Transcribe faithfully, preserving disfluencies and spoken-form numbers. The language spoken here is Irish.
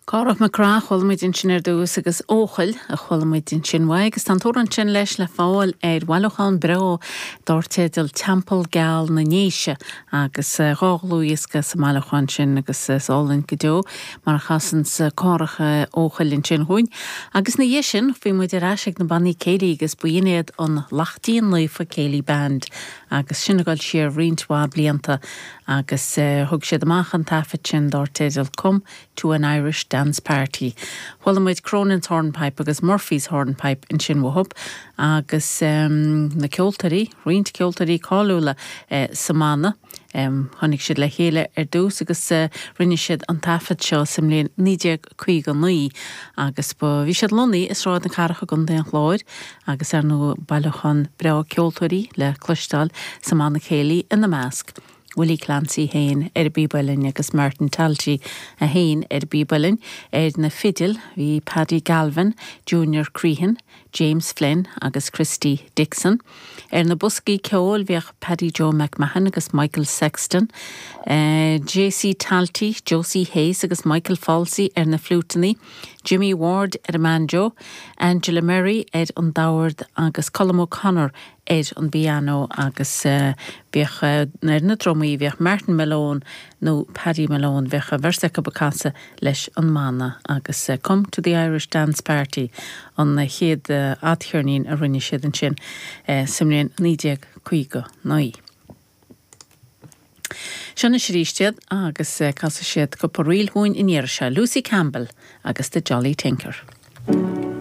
Cárthach Mac Craith a chuala muid ansin ar dtús agus Eochaill a chuala muid ansin uaidh agus tá an t-amhrán sin leis le fáil ar bhailiúchán breá dar teideal Teampall Geal na nDéise agus dhá dhlúthdhiosca sa mbailiúchán sin agus is álainn go deo mar a chasann Cárthach Eochaill ansin chugainn. Agus ina dhiaidh sin bhí muid ar ais ag na bannaí céilí agus b'in iad an Laichtín Naofa Céilí Band agus sin ag dul siar roinnt mhaith blianta agus thug siad amach an taifead sin dar teideal Come to an Irish Dance Party. Chuala muid Cronin's Hornpipe agus Murphy's Hornpipe ansin uathu agus um, na ceoltóirí, roinnt ceoltóirí cáiliúla eh, sa mbanna. Um, tháinig siad le chéile ar dtús agus uh, rinne siad an taifead seo sa mbliain naoi déag caoga naoi agus ba bhí siad lonnaithe i Sráid na Cathrach i gContae an Chláir agus ar ndóigh bailiúchán breá ceoltóirí le cloisteáil sa mbanna céilí ina measc. Willie Clancy féin ar an bpíob uilleann agus Martin Talty a féin ar an bpíob uilleann ar na fidil bhí Paddy Galvin, Junior Crehan, James Flynn agus Christy Dixon. Ar na boscaí ceoil bhíodh Paddy Joe McMahon agus Michael Sexton, uh, J.C. Talty, Josie Hayes agus Michael Falsey ar na fliúiteanna, Jimmy Ward ar an mbanjo, Angela Murray ar an dord agus Colm O'Connor ar an bpianó agus uh, bhíodh uh, ar na drumaí bhíodh Martin Malone nó Paddy Malone bhíodh a bheirt acu ag casadh leis an mbanna agus uh, Come to the Irish Dance Party an chéad uh, fhadcheirnín a rinne siad ansin uh, sa mbliain naoi déag caoga naoi. Seo anois arís iad agus uh, casfaidh siad cúpla ríl chugainn an iarraidh seo Lucy Campbell agus the Jolly Tinker.